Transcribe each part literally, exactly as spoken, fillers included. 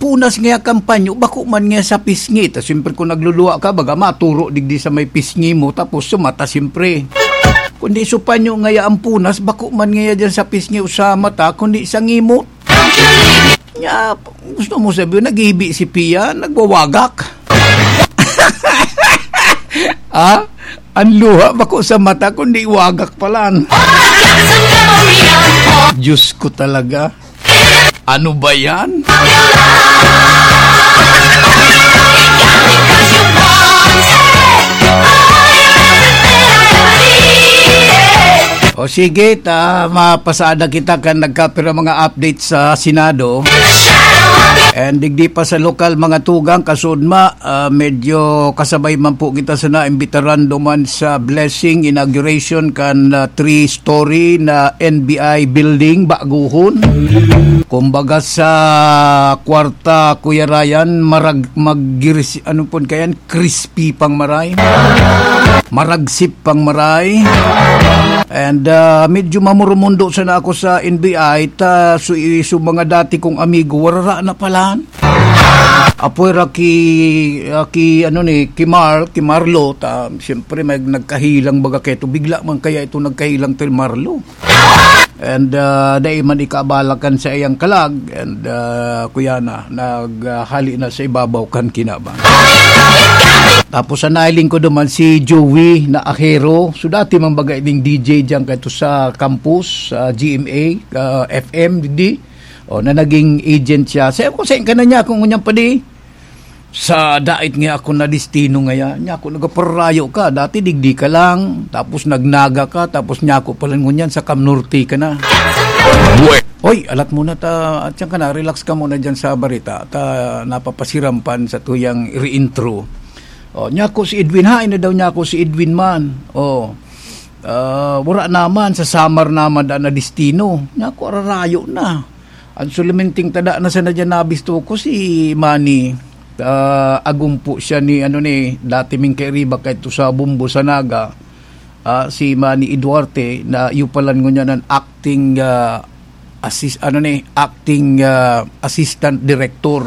punas ngaya kan panyo, bako man ngaya sa pisngi. Ta siyempre, kung nagluluwa ka, baga maturo digdi sa may pisngi mo, tapos sa mata, siyempre. Kundi sa panyo ngaya ang punas, bako man ngaya dyan sa pisngi o sa mata, kundi sa ngimot. Nya, gusto mo sabihin, naghibi si Pia, nagwawagak. Ha? Ang luha, bako sa mata, kundi wagak palan. Diyos ko talaga. Ano ba yan? O sige, ta mapasada kita kan nagkapira mga update sa Senado. And digdi pa sa lokal, mga tugang, kasudma, ah, medyo kasabay man po kita sa naimbitaran duman sa blessing inauguration kan, ah, three-story na N B I building, baguhon. Kumbaga sa kwarta, Kuya Ryan, marag-, mag-, ano pon kayan, crispy pang maray. Maragsip pang maray. And, ah, medyo mamurumundo sana ako sa N B I, ta su-, su mga dati kong amigo, warara na palan. Apoy ra ki, ah, ki, ano ni, ki Marl, ki Marlo, ta, siyempre, may nagkahilang baga keto. Bigla man kaya ito nagkahilang ti Marlo. And, ah, dai man ikaabalakan sa iyang kalag, and, ah, kuya na, naghali na sa ibabaw kan kinabang. Tapos, sa nailing ko duman si Joey na Ahero. So, dati man baga ining D J diyan kaito sa campus, sa G M A, ah, F M, di. O, na naging agent siya. Sabi ko, "Saan ka na niya kung ngunyan pa di?" Sa dait nga ako na destino ngaya, niya ako nagaparayo ka. Dati digdi ka lang, tapos nagnaga ka, tapos niya ako pala ngunyan sa Cam Norte ka na. Bue- Hoy, alat muna ta, at yan ka na, relax ka muna dyan sa barita. Ta, napapasirampan sa tuyang re-intro. O, niya ako si Edwin, hain na daw niya ako si Edwin man. O, ah, wala naman, sa Samar naman da na destino. Niya ako, ararayo na. Ang sulaminting tada na sana dyan nabisto ko si Manny. Ah, agumpo siya ni, ano ni, dati ming kairiba kaito sa Bumbo sa Naga. Ah, si Manny Eduarte na yupalan ngunyan an acting, ah, assist-, ano ni, acting, ah, assistant director,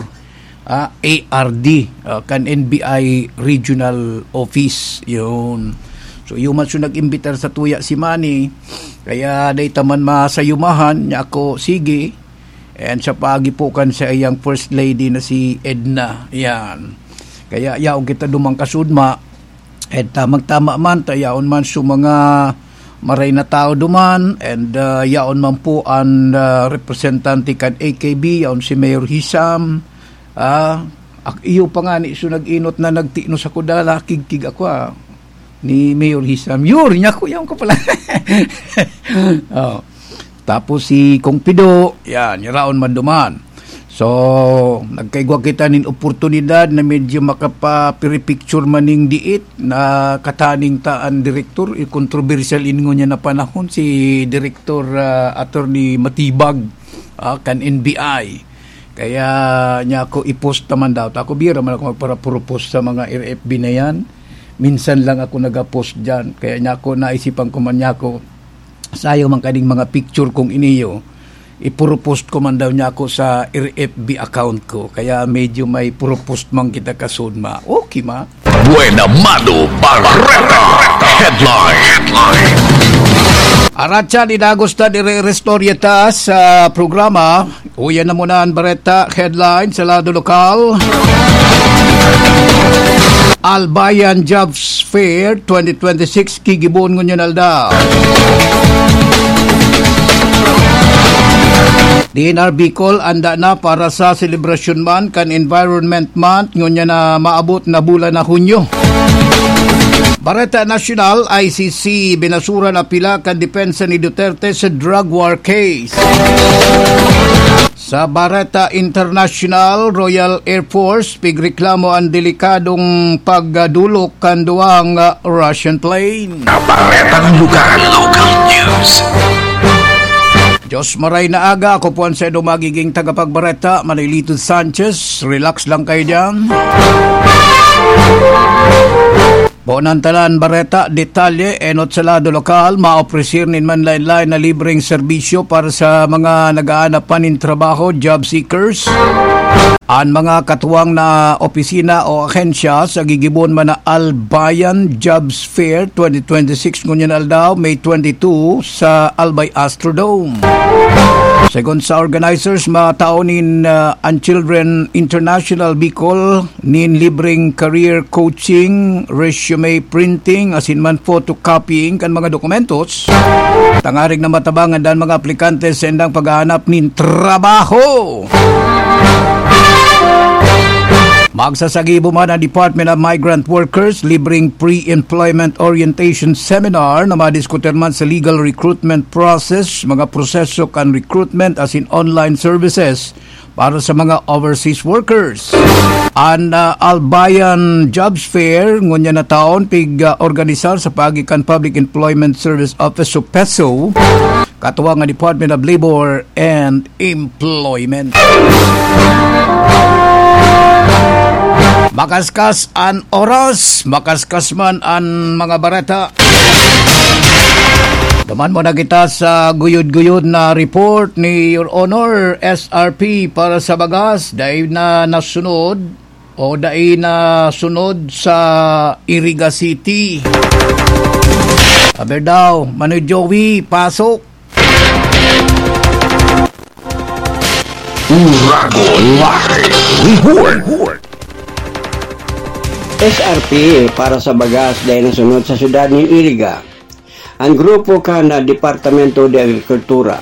ah, A R D, ah, kan N B I Regional Office. Yun. So, yun man siya nag-imbitar sa tuya si Manny. Kaya dahil taman masayumahan niya ako, sige. And sa paagi po kan sa iyang First Lady na si Edna. Yan. Kaya yaon kita dumang kasudma. And tamang-tama man, ta yaon man sa mga maray na tao duman. And, ah, yaon man po ang, ah, representante kan A K B, yaon si Mayor Hisam. Ah, ak-, iyo pa nga ni, so nag-inot na nagtinos ako, dala, kigkig ako, ah. Ni Mayor Hisam. Yun, niya ko, yun ko pala. Oh. Tapos si Kong Pido, yan, yaraon man duman. So, nagkaigwa kita nin oportunidad na medyo makapapiripicture man ning diit na kataning ta an direktor, i-, kontrobersyal ingon niya na panahon si Direktor, ah, Attorney Matibag, ah, kan N B I. Kaya niya ako i-post naman daw. Ako, bira man ako magpara-propose sa mga R F B na yan. Minsan lang ako nag-post dyan. Kaya niya ako, naisipan ko man niya ako, sayang man kaning mga picture kong iniyo. Ipuro-post ko man daw niya ako sa R F B account ko. Kaya medyo may puro-post man kita kasudma. Okay, ma? Buena Mano Barreta. Headline. Headline. Aratsa ni Dagos ta dire-, restorya ta sa programa. Uyan na muna ang bareta headline sa lado lokal. Albayan Jobs Fair twenty twenty-six, kigibon ngunyan aldaw. D N R Bicol, anda na para sa selebrasyon man kan Environment Month, ngunyan na maabot na bulan na Hunyo. Bareta Nasyonal, I C C, binasura na pila kan depensa ni Duterte sa drug war case. Sa Bareta International, Royal Air Force, pigreklamo ang delikadong pagdulok kan duwang, ah, Russian plane. Baretang lugar, local news. Diyos maray na aga, ako po ang sendo magiging tagapagbareta, Manilito Sanchez. Relax lang kayo dyan. Ponan tanan bareta, detalye, enot sa lado lokal, maopresir nin manlain-lain na libreng serbisyo para sa mga nag-aanap pa nin trabaho, job seekers. An mga katuwang na opisina o ahensya sa gigibon man na Albayan Jobs Fair twenty twenty-six ngunyan aldaw, May twenty-two, sa Albay Astrodome. Segun sa organizers, matao nin, ah, an Children International Bicol nin libreng career coaching, resume printing, asin man photocopying kan mga dokumentos, tangarig na matabangan dan mga aplikante sa indang paghahanap nin trabaho. Magsasagibo man ang Department of Migrant Workers, libreng pre-employment orientation seminar na madiskutir man sa legal recruitment process, mga proseso kan recruitment asin online services para sa mga overseas workers. An, ah, Albayan Jobs Fair ngunyan na taon pig, ah, organisar sa paagi kan Public Employment Service Office o peso, katuwang nga Department of Labor and Employment. Makaskas an oras, makaskas man an mga bareta. Duman muna kita sa guyod-guyod na report ni Your Honor, S R P para sa bagas, dai na nasunod o dai na sunod sa Iriga City. Aber daw, Manoy Joey, pasok. Uragon Live Report. S R P para sa bagas dai nasunod sa syudad nin Iriga. An grupo kan Departamento de Agrikultura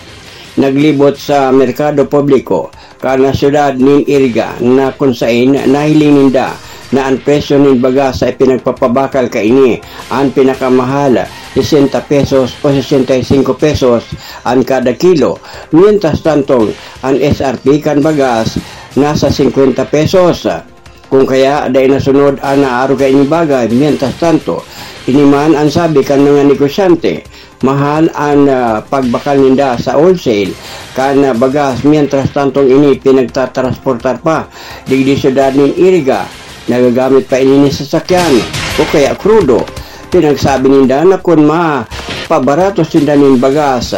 naglibot sa merkado publiko kan syudad nin Iriga, na kun saen nahiling ninda na an presyo nin bagas sa ipinagpapabakal kaini, an pinakamahal, sesenta pesos o sesenta y cinco pesos an kada kilo. Mientras tanto, an S R P kan bagas nasa singkwenta pesos. Kung kaya, dai nasunod an naaro kaini bagay. Mientras tanto, ini man an sabi kan mga negosyante, mahal an, ah, pagbakal ninda sa wholesale kan, ah, bagas, mientras tantong ini pinagtatransportar pa digdi syudad nin Iriga. Nagagamit pa ini nin sasakyan o kaya krudo. Pinagsabi ninda na kun mapabarato sinda nin bagas,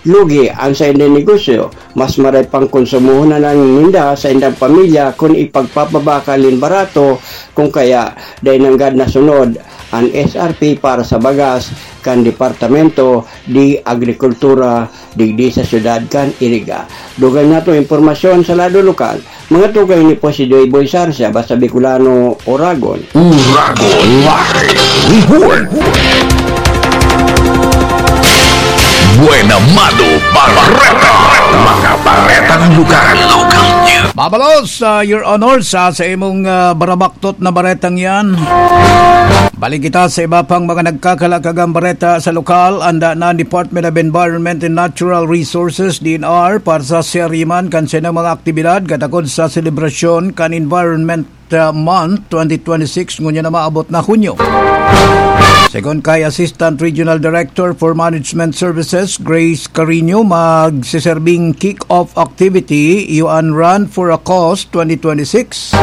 lugi an saindang negosyo, mas maray pang konsumohon na lang ninda sa indang pamilya kun ipagpapabakal nin barato, kung kaya dai nanggad nasunod an S R P para sa bagas kan Departamento de Agrikultura digdi sa syudad kan Iriga. Dugang nato impormasyon sa lado lokal, mga tugang ni Posidoy Boy Sarsia, basta Bicolano, Oragon. Uragon Live Report. Buena Mano Bareta. Mga baretang lokal. Local news. Mabalos, ah, Your Honor, sa, sa imong, ah, barabaktot na baretang yan. Balik kita sa iba pang mga nagkakalakagang bareta sa lokal. Anda na ang Department of Environment and Natural Resources, D N R, para sa serye man kan saindang mga aktibidad katakod sa selebrasyon kan Environment, ah, Month twenty twenty-six, ngunyan na maabot na Hunyo. Segun kay Assistant Regional Director for Management Services, Grace Carino, magseserbing kick-off activity, iyo an Run for a Cause twenty twenty-six.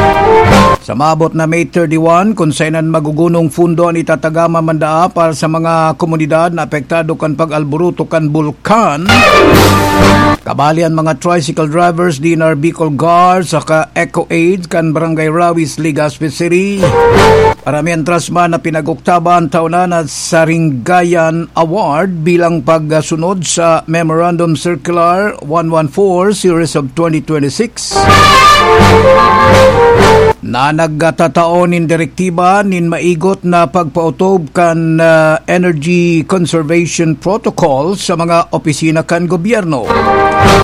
Sa maabot na May thirty-one, kun sainan magugunong fundo an itatagama man daa para sa mga komunidad na apektado kan pag-alboroto kan bulkan. Kabali an mga tricycle drivers, D N R Bicol Guard, saka Eco Aid kan Barangay Rawis, Legazpi City. Para mientras man na pinag-oktaban taon na na Saringgayan Award bilang pagsunod sa Memorandum Circular one one four Series of twenty twenty-six na nagtatao nin direktiba nin maigot na pagpaotob kan, ah, Energy Conservation Protocol sa mga opisina kan gobyerno.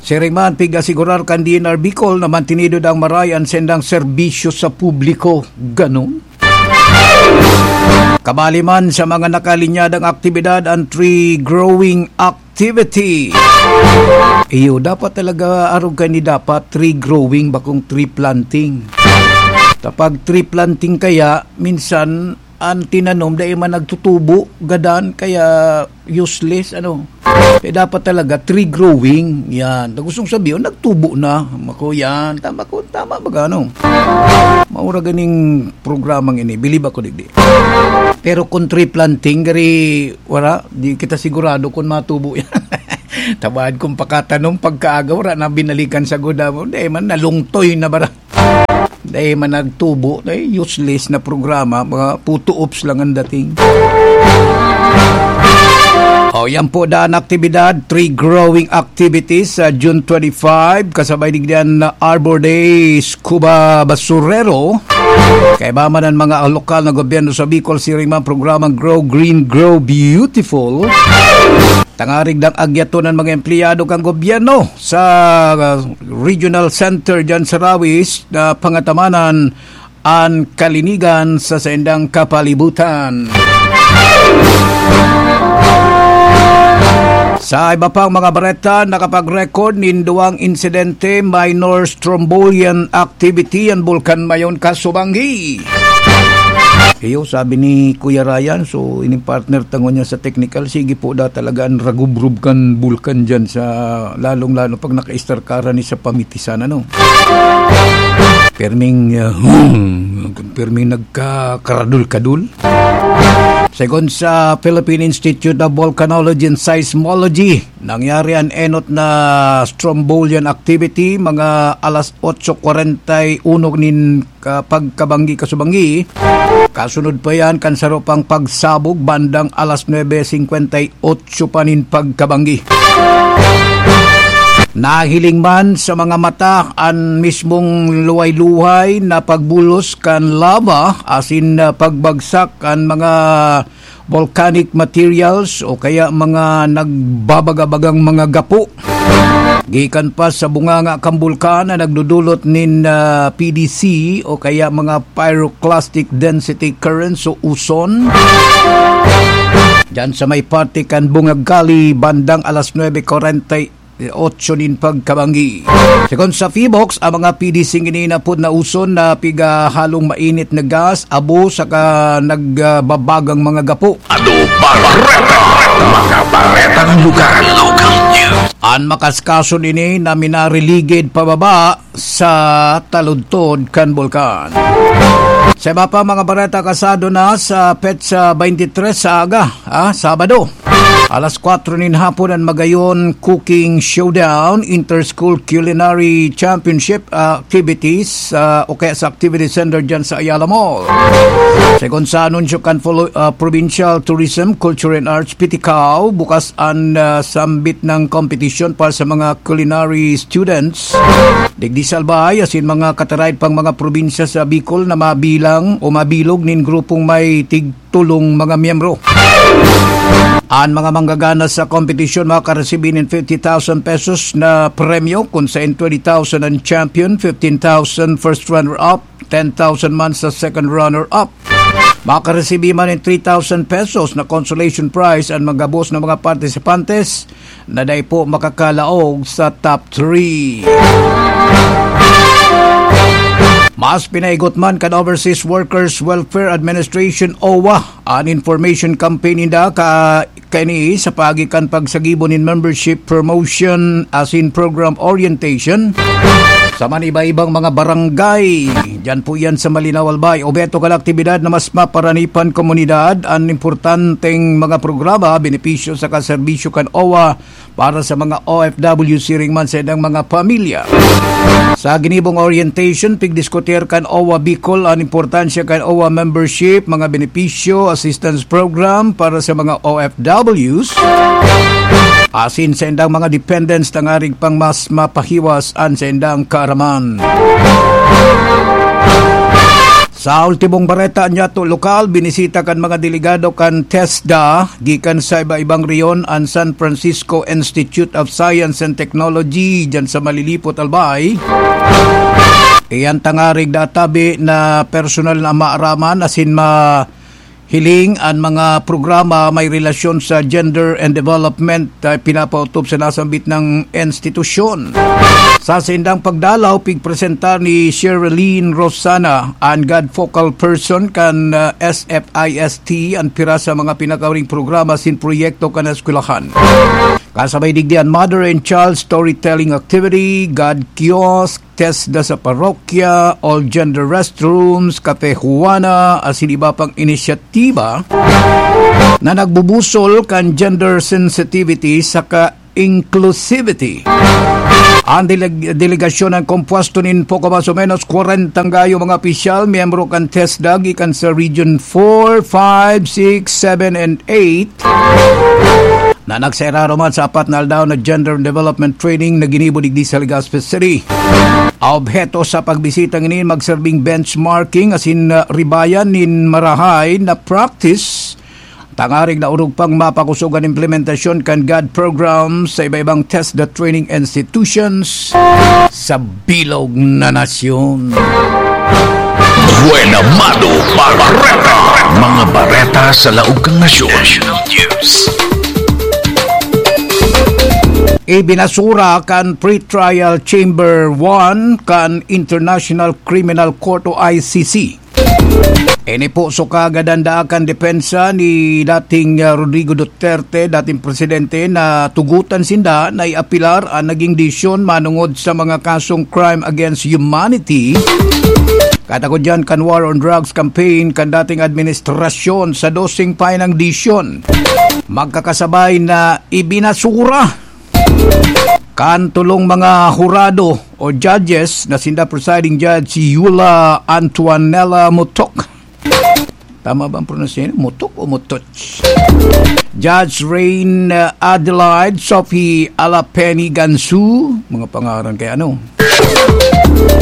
Siring man, pig-asigurar kan D N R Bicol na mantinido dang maray an sendang serbisyo sa publiko. Ganon. Kabali man sa mga nakalinyadang aktibidad an tree growing activity. Iyo, dapat talaga, arog kaini, dapat tree growing, bakong tree planting. Kapag tree planting kaya, minsan, An tinanom, dai man nagtutubo, gadan, kaya useless, ano. Kaya dapat talaga, tree growing. Yan. Na gustong sabihin, nagtubo na. Mako, yan. Tama ko, tama ba, ano? Maura ganing programang ini. Bilib ako, digdi. Pero kung tree planting, gari, wala. Di kita sigurado kung matubo yan. Tabaad kung pakatanom, pagkaaga, wala na binalikan sa guda mo. Dai man, nalungtoy na bara. Dai man nagtubo, dai useless na programa, mga puto ops lang ang dating. O, yan po daan aktibidad, tree growing activities sa June twenty-five, kasabay digdiyan na Arbor Day, Scuba Basurero. Kaiba man ang mga lokal na gobyerno sa Bicol, siring man programang Grow Green, Grow Beautiful. Tangarig dang agyaton ang mga empleyado kan gobyerno sa, uh, regional center dyan sa Rawis na pangatamanan an kalinigan sa saindang kapalibutan. Sa iba pang mga bareta, nakapag-record nin duwang insidente, minor strombolian activity an Bulkan Mayon, Kasubanggi. Iyo, sabi ni Kuya Ryan, so, ining partner tango niya sa technical, sige po da talaga an ragubrob kan bulkan dyan sa, lalong-lalo pag naka-star ka ni sa pamitisan, ano? Perming, uh, perming nagkakaradul-kadul. Segun sa Philippine Institute of Volcanology and Seismology, nangyari an enot na strombolian activity mga alas otso kwarenta y uno nin ka-, pagkabanggi, Kasubanggi. Kasunod pa yan kan saro pang pagsabog bandang alas nuebe singkwenta y otso pa nin pagkabanggi. Nahiling man sa mga mata an mismong luhay-luhay na pagbulos kan lava asin, ah, pagbagsak kan mga volcanic materials o kaya mga nagbabaga-bagang mga gapo. Gikan pa sa bunganga kan bulkan na nagdudulot nin, ah, P D C o kaya mga pyroclastic density currents o uson. Diyan sa may parte kan Bungag Kali, bandang alas nuebe kwarenta y otso nin pagkabanggi. Segun sa Phivolcs, ang mga P D C ini napod na uson na pigahalong mainit na gas, abo saka nagbabagang mga gapo. Ano bareta? Mga baretang lugar. Local news. An makaskason ini na minariligid pababa sa taludtod kan bulkan. Sa iba pa mga bareta, kasado na sa petsa twenty-three sa aga, ah, Sabado. Alas kwatro nin hapon an Magayon Cooking Showdown, Inter-School Culinary Championship, ah, activities, ah, o kaya sa Activity Center dyan sa Ayala Mall. Segun sa anunsyo kan Polo-, ah, Provincial Tourism, Culture and Arts, P T C A O, bukas an, ah, sambit ng kompetisyon para sa mga culinary students. Digdi sa Albay, asin mga kataraid pang mga probinsya sa Bicol na mabilang o mabilog nin grupong may tig tolong mga miyembro. An mga manggagana sa kompetisyon makaresibir nin fifty thousand pesos na premyo, kun sain twenty thousand ang champion, fifteen thousand first runner-up, ten thousand man sa second runner-up. Makaresibir man nin three thousand pesos na consolation prize an mga gabos na mga partisipantes na dai po makakalaog sa top three. Mas pinaigot man kan Overseas Workers Welfare Administration, owa, an information campaign ninda ka, kaini sa paagi kan pagsagibo nin membership promotion asin program orientation sa man iba-ibang mga barangay. Diyan po yan sa Malinao, Albay. Obheto kan aktibidad na mas maparani pa an komunidad an importanteng mga programa, benepisyo saka serbisyo kan owa para sa mga O F W siring man sa ilang mga pamilya. Sa ginibong orientation, pigdiskutir kan owa Bicol an importansya kan owa membership, mga benepisyo, assistance program para sa mga O F Ws, asin sa indang mga dependents, tangarig pang mas mapahiwas an sa indang kaaraman. Sa ultimong bareta, nyato lokal, binisita kan mga delegado kan TESDA gikan sa iba-ibang rehiyon an San Francisco Institute of Science and Technology diyan sa Malilipot, Albay. Iyan tangarig natabi na personal na maaraman asin ma-, Hiling, an mga programa may relasyon sa gender and development ay pinapautop sa nasambit na institusyon. Sa saindang pagdalaw, pigpresentar ni Sherilyn Rosana, an God focal person kan, ah, S F I S T, an pira sa mga pinakauring programa asin proyekto kan eskwelahan. Kasabay digdi an Mother and Child Storytelling Activity, God Kiosk, TESDA sa parokya, all-gender restrooms, Cafe Juana, asin iba pang inisyatiba na nagbubusol kan gender sensitivity saka inclusivity. An deleg-, delegasyon an kompuesto nin poko mas o menos kwarenta gayo mga opisyal, miyembro kan TESDA gikan sa Region four, five, six, seven, and eight, na nagsairaro man sa apat na aldaw na gender development training na ginibo digdi sa Legazpi City. Obheto sa pagbisita ngini, magserbing benchmarking asin, ah, ribayan nin marahay na practice, tangarig na orog pang mapakosog an implementasyon kan God program sa iba-ibang TESDA training institutions sa bilog na nasyon. Buena Mano Bareta. Mga bareta sa laog kan nasyon. National News. Ibinasura kan Pretrial Chamber one kan International Criminal Court o I C C. Ini po so kagadan-daan kan depensa ni dating, ah, Rodrigo Duterte, dating presidente, na tugutan sinda na iapilar an naging desisyon manongod sa mga kasong crime against humanity. Katakod diyan kan war on drugs campaign kan dating administrasyon sa doseng painang desisyon. Magkakasabay na ibinasura kan tolong mga hurado o judges na sinda presiding judge si Yula Antoinella Motok. Tama ba ang pronunciation? Motok o Motoch? Judge Rain, uh, Adelaide Sophie Alapeni Gansu, mga pangaran kay ano.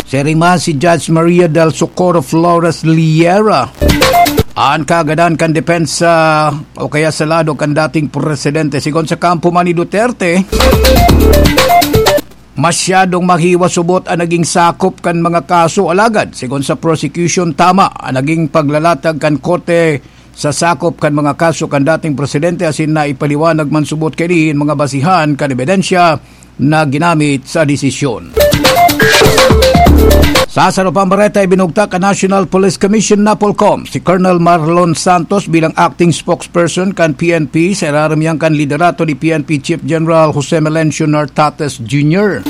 Siring man si Judge Maria del Socorro Flores Liera. An kagadan kan depensa o kaya sa lado kan dating presidente. Sigon sa kampo man ni Duterte, masyadong mahiwa-subot an naging sakop kan mga kaso. Alagad, sigon sa prosecution, tama an naging paglalatag kan korte sa sakop kan mga kaso kan dating presidente, asin naipaliwanag man subot kaini an mga basihan kan ebidensya na ginamit sa desisyon. Sa sarong pambareta, ibinugtak kan National Police Commission, NAPOLCOM, si Colonel Marlon Santos bilang acting spokesperson kan P N P sa irarom niyan kan liderato ni P N P Chief General Jose Melencio Nartates Junior.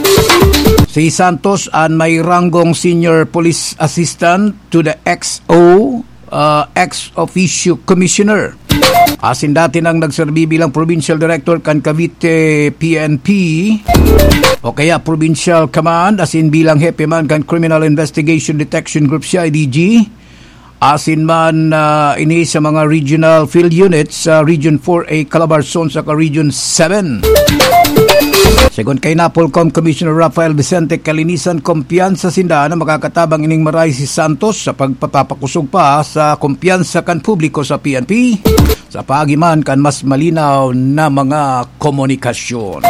Si Santos an may ranggong Senior Police Assistant to the X O, uh, ex officio commissioner. Asin dati nang nagserbi bilang provincial director kan Cavite P N P o kaya Provincial Command, asin bilang hepe man kan Criminal Investigation Detection Group, C I D G. Asin man, ah, ini sa mga regional field units sa Region four A Calabarzon saka Region seven. Segun kay NAPOLCOM Commissioner Rafael Vicente Calinisan, kumpiyansa sinda na makakatabang ining maray si Santos sa pagpapakusog pa sa kumpiyansa kan publiko sa P N P sa paagi man kan mas malinaw na mga komunikasyon.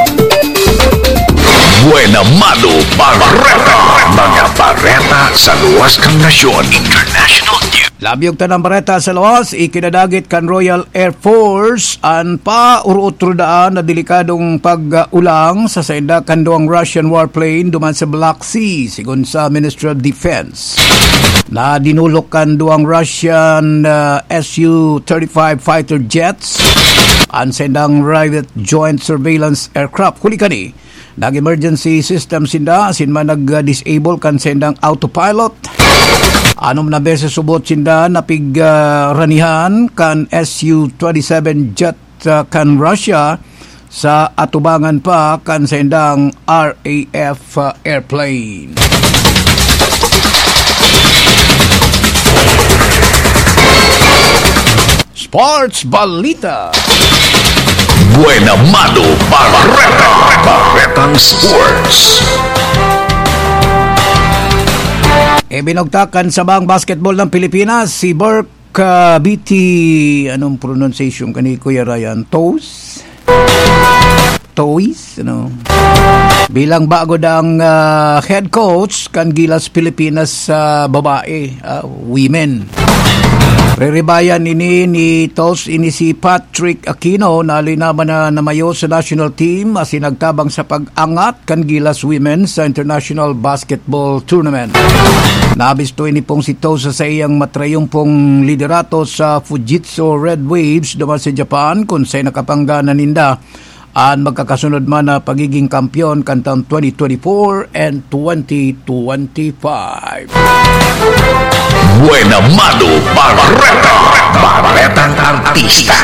Buena Mano Bareta. Mga bareta sa luwas kan nasyon. International News. Labi og tanang bareta sa luwas, ikinadagit kan Royal Air Force an paurotro daan na delikadong pag-ulang sa sainda kan duwang Russian warplane duman sa Black Sea, sigon sa Ministry of Defense. Nadinulok kan duwang Russian, ah, S U thirty-five fighter jets an saindang Rivet joint surveillance aircraft. Huli kani, nag-emergency system sinda, asin man nag-disable kan saindang autopilot. Anom na beses subot sinda napig, ah, ranihan kan S U twenty-seven jet, ah, kan Russia sa atubangan pa kan saindang R A F airplane. Sports Balita. Buena Mano Bareta. Baretang Sports. Ibinugtak kan sabang basketball ng Pilipinas, si Burke, ah, B T, anong pronunciation kani, Kuya Ryan? Toes? Toes? Ano? Bilang bago dang, ah, head coach kan Gilas Pilipinas sa babae, ah, women. Riribayan ini ni Tos ini si Patrick Aquino na linaban na namayo sa national team asin nagtabang sa pag-angat kan Gilas Women sa International Basketball Tournament. Nabisto ini pong si Tos sa saiyang matrayumpong liderato sa Fujitsu Red Waves duman sa Japan, kun sa nakapanggana ninda an magkakasunod man na pagiging kampeon kan taon twenty twenty-four and twenty twenty-five. Buena Mano Bareta, Baretang Artista.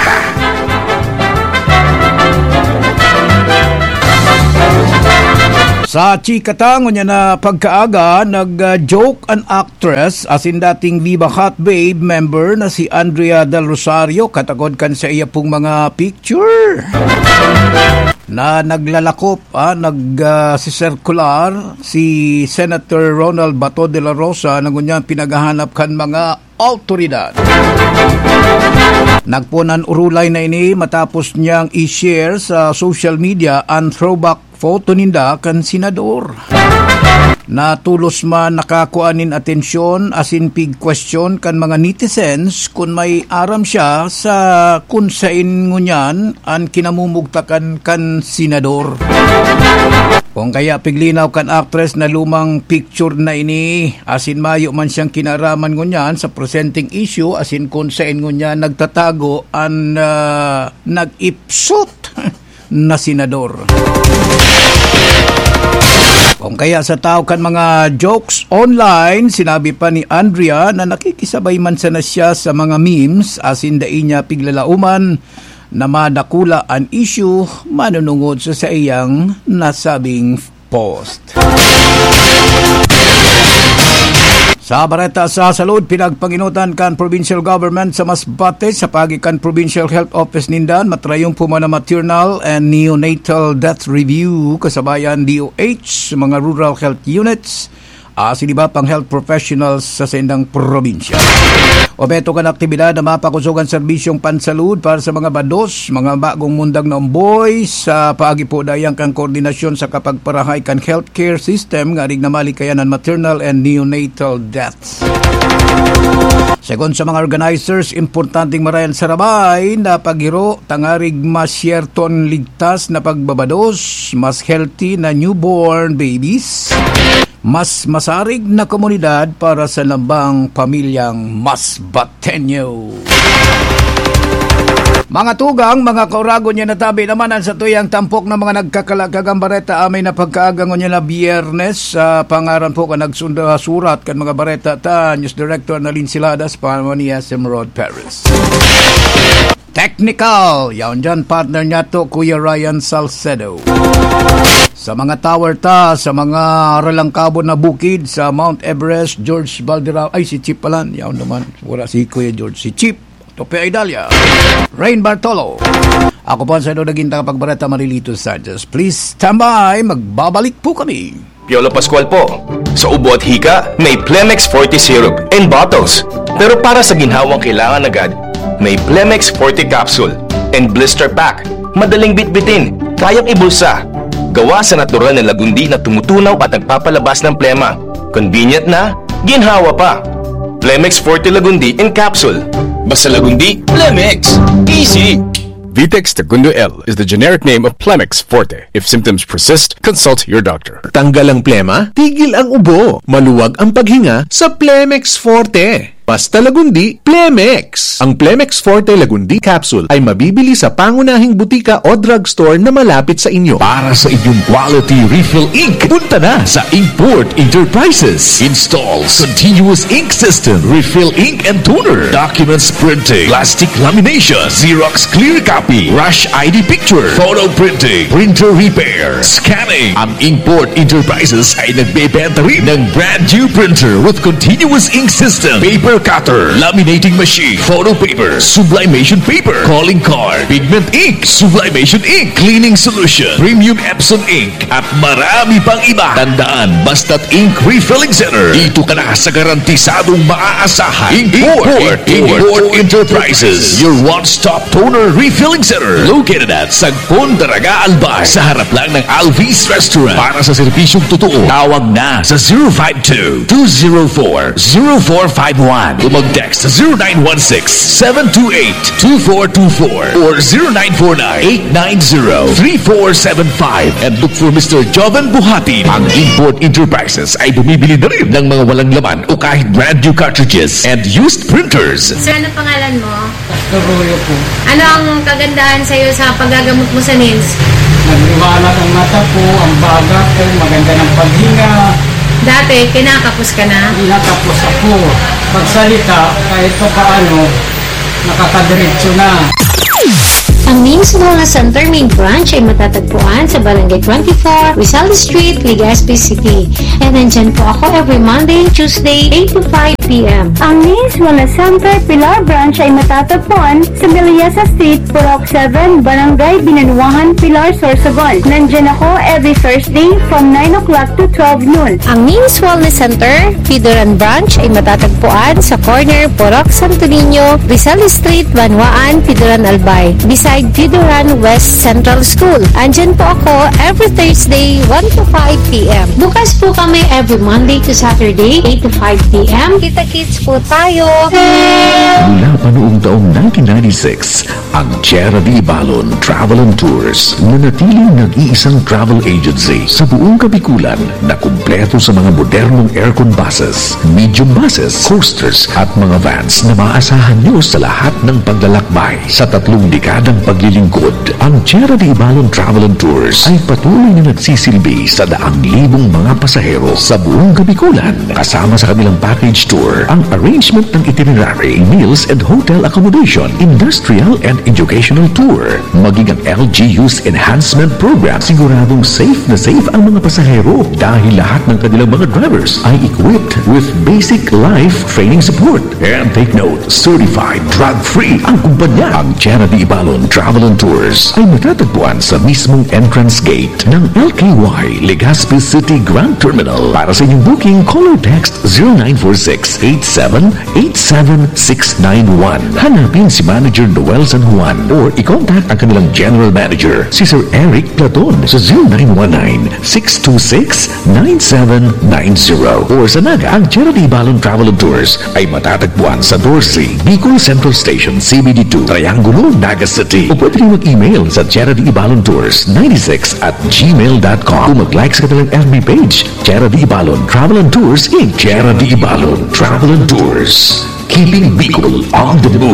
Sa chika ta, ngunyan na pagkaaga, nag-joke an actress asin dating Viva Hot Babe member na si Andrea Del Rosario katakod kan sa iya pong mga picture na naglalakop, ah, nag, ah, sisirkular si Senator Ronald Bato de la Rosa na ngunyan pinaghahanap kan mga awtoridad. Nagpunan urulay na ini matapos niyang i-share sa social media an throwback photo ninda kan senador. Natulos man nakakua nin atensyon asin pig-question kan mga netizens kun may aram siya sa kun saen ngunyan an kinamumugtakan kan senador. Kung kaya piglinaw kan actress na lumang picture na ini, asin mayo man siyang kinaraman ngunyan sa presenteng issue, asin kun saen ngunyan nagtatago an, ah, nag-ipsot na senador. Kung kaya sa tao kan mga jokes online, sinabi pa ni Andrea na nakikisabay man sana siya sa mga memes, asin dai niya piglalauman na madakula an issue manunungod sa saiyang nasabing post. Sa bareta sa salud, pinagpanginutan kan provincial government sa Masbate sa paagi kan Provincial Health Office ninda an matrayumpo man na maternal and neonatal death review kasabayan D O H sa mga rural health units, asin iba pang health professionals sa saindang probinsya. Obheto kan aktibidad na mapakosog an serbisyong pansalud para sa mga bados, mga bagong mundag na omboy, sa paagi po dayan kan koordinasyon sa kapagparahay kan healthcare system nga arig na malikayan an maternal and neonatal deaths. Segun sa mga organizers, importanteng marayan sa rabay na paghiro tangarig masyerton ligtas na pagbabados, mas healthy na newborn babies, mas masarig na komunidad para sa lambang pamilyang Masbateño. Mga tugang, mga kauragon, yan natabi naman an satuyang tampok na mga nagkakalakagang bareta amay na pagkaaga ngunyan na Biyernes. Sa pangaran po kan nagsurat kan mga bareta ta, News Director na Linsilada sa panahon ni S M Rod Perez. Technical, yaon dyan, partner niya to, Kuya Ryan Salcedo. Sa mga tower ta, sa mga ralangkabon na bukid, sa Mount Everest, George Valderrama, ay, si Chief pala, yaon naman. Wala si Kuya George, si Chief Tope Idalia, Rain Bartolo. Ako po ang sa'yo naging tagapagbareta, Marilito Sanchez. Please stand by, magbabalik po kami. Piolo Pascual po. Sa ubo at hika, may Plemex Forte Syrup in bottles. Pero para sa ginhawang kailangan agad, may Plemex Forte Capsule and Blister Pack. Madaling bitbitin, kayang ibulsa. Gawa sa natural na lagundi na tumutunaw at nagpapalabas ng plema. Convenient na, ginhawa pa. Plemex Forte Lagundi in Capsule. Basta Lagundi, Plemex. Easy! Vitex Tagundo L is the generic name of Plemex Forte. If symptoms persist, consult your doctor. Tanggal ang plema, tigil ang ubo. Maluwag ang paghinga sa Plemex Forte. Basta Lagundi, Plemex. Ang Plemex Forte Lagundi Capsule ay mabibili sa pangunahing butika o drugstore na malapit sa inyo. Para sa inyong quality refill ink, punta na sa Inkport Enterprises. Installs continuous ink system, refill ink and toner, documents printing, plastic lamination, Xerox clear copy, rush I D picture, photo printing, printer repair, scanning. Ang Inkport Enterprises ay nagbebenta rin ng brand new printer with continuous ink system, paper cutter, laminating machine, photo paper, sublimation paper, calling card, pigment ink, sublimation ink, cleaning solution, premium Epson ink, at marami pang iba. Tandaan, basta't ink refilling center, dito ka na sa garantisadong maaasahan. Import, Import, Import Enterprises, your one-stop toner refilling center, located at Sagpon, Daraga, Albay, sa harap lang ng Alvis Restaurant. Para sa serbisyong totoo, tawag na sa zero five two, two zero four, zero four five one. O mag-text sa zero nine one six, seven two eight, two four two four or zero nine four nine, eight nine zero, three four seven five and look for Mister Joven Buhatin. Ang Import Enterprises ay bumibili na rin ng mga walang laman o kahit brand new cartridges and used printers. Sir, ano pangalan mo? Pastor Royo po. Ano ang kagandahan sa'yo sa paggagamot mo sa nails? Nagliwanag ang mata ko, ang baga ko, maganda ng paghinga. Dati, kinakapos ka na? Hindi natapos ako. Pagsalita, kahit pa paano, nakakadiretso na. Ang Nails Wellness Center Main Branch ay matatagpuan sa Barangay twenty-four, Rizal Street, Legazpi City. And nandyan po ako every Monday and Tuesday, eight to five p.m. Ang Nails Wellness Center Pilar Branch ay matatagpuan sa Miliasa Street, Purok seven, Barangay Binanuahan, Pilar, Sorsogon. Nandyan ako every Thursday from nine o'clock to twelve noon. Ang Nails Wellness Center, Pidoran Branch ay matatagpuan sa corner Purok Santo Niño, Rizal Street, Banwaan, Pidoran, Albay, beside Pidoran West Central School. Andyan po ako every Thursday, one to five p.m. Bukas po kami every Monday to Saturday, eight to five p.m. Kita-kits po tayo! Mula pa noong taong nineteen ninety-six, ang Tierra de Ibalon Travel and Tours nanatiling nag-iisang travel agency sa buong Kabikulan na kumpleto sa mga modernong aircon buses, medium buses, coasters at mga vans na maaasahan nyo sa lahat ng paglalakbay. Sa tatlong dekadang paglilingkod, ang Tierra de Ibalon Travel and Tours ay patuloy na nagsisilbi sa daang libong mga pasahero sa buong Kabikulan, kasama sa kanilang package tour, ang arrangement ng itinerary, meals and hotel accommodation, industrial and educational tour, maging ang L G U's enhancement program. Siguradong safe na safe ang mga pasahero dahil lahat ng kanilang mga drivers ay equipped with basic life training support. And take note, certified drug-free ang kumpanya. Ang Tierra de Ibalon Travel and Tours ay matatagpuan sa mismong entrance gate ng L K Y Legazpi City Grand Terminal. Para sa inyong booking, call or text zero nine four six eight seven eight seven six nine one. Hanapin si Manager Noel San Juan or i-contact ang kanilang General Manager, si Sir Eric Platon, sa zero nine one nine six two six nine seven nine zero. Or sa Naga, ang Tierra de Ibalon Travel and Tours ay matatagpuan sa Dorsey, Bicol Central Station, C B D two, Triangulo, Naga City. O pwede rin mag-email sa Tierra de Ibalon Tours ninety-six at gmail dot com. O mag-like sa kanilang F B page, Tierra de Ibalon Travel and Tours, Inc. Tierra de Ibalon Travel and Tours. Keeping Bicol on the move.